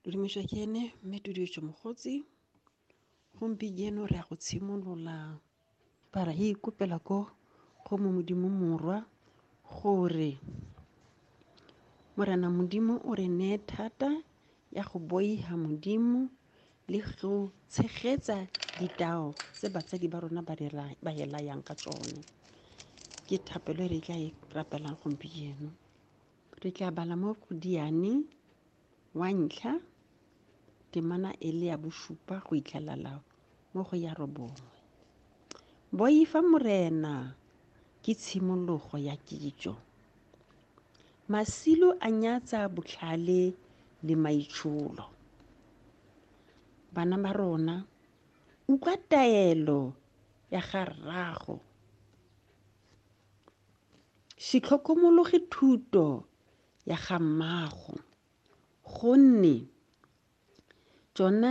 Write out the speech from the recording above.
Dudumišwa ke ene mme Tudietšo Mogotsi. Gompieno re ya go tshimolola para e ikopela ko go mo Modimo Morwa gore Morena Modimo o re neye thata ya go boiha Modimo le go tshegetsa ditao tse batsadi ba rona ba re layang ka tsone. Ke thapelo e re tla e rapelang gompieno. Re tla bala mo go Diane wa ntlha temana e le ya bosupa go itlhelela mo go ya robongwe. Boifa Morena ke tshimologo ya kitso. Masilo a nyatsa botlhale le maitsholo. Bana ba rona, utlwa taelo ya ga rrago. Se tlhokomologe thuto ya ga mmago, gonne tsona